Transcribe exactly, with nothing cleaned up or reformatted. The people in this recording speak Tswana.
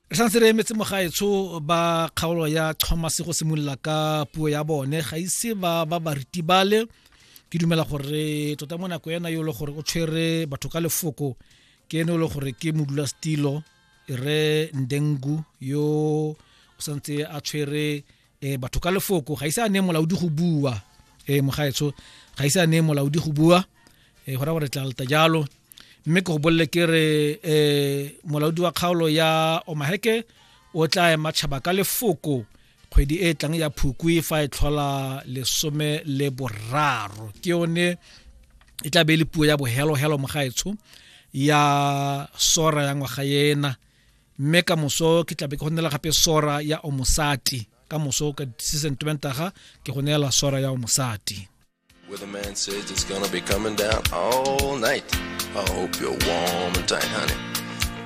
Re santse re emetse mogaetsho ba kgaolo ya Thomas go simolola ka puo ya bone. Ga ise ba ba ba ritibale. Ke dumela gore tota mo nako ena yo le gore o tshwere batho ka lefoko ke ene o le gore ke modulasetilo re Ndengu yo o santse a tshwere eh, batho ka lefoko. Ga ise a ne molaodi go bua, eh, mogaetsho ga ise a ne molaodi go bua, eh, go raya gore tla leta jalo. Mme ke go bolele ke re um molaodi wa kgaolo ya Omaheke o tla ema tšhaba ka lefoko kgwedi e e tlang ya Phukwi fa e tlhola lesome le boraro. Ke yone e tla be e le puo ya bohelohelo mogaetsho ya sora ya ngwaga ena. Mme ka moso ke tlabe ke go neela gape sora ya Omosati. Ka moso ka sesentwentaga ke go neela sora ya Omosati. Weatherman says it's gonna be coming down all night. I hope you're warm and tight, honey.